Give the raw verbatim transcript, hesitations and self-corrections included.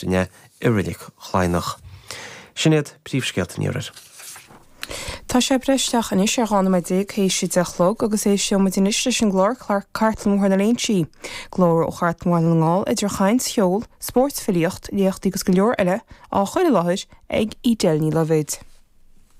Aifreann é i Reilig Chladhnach. Sin iad príomhscéalta an iarthair. Tá sé breis isteach anois ar dhá nóiméad déag théis a deich a chlog agus éisteoidh muid anois leis an gclár Cartlann Bhóthar na Léinsí. Glór ó Chartlann Bhaile na nGall idir chaint, cheol, spórt, filíocht, léachtaí agus go leor eile á chur i láthair ag Edel Ní Loibhéid.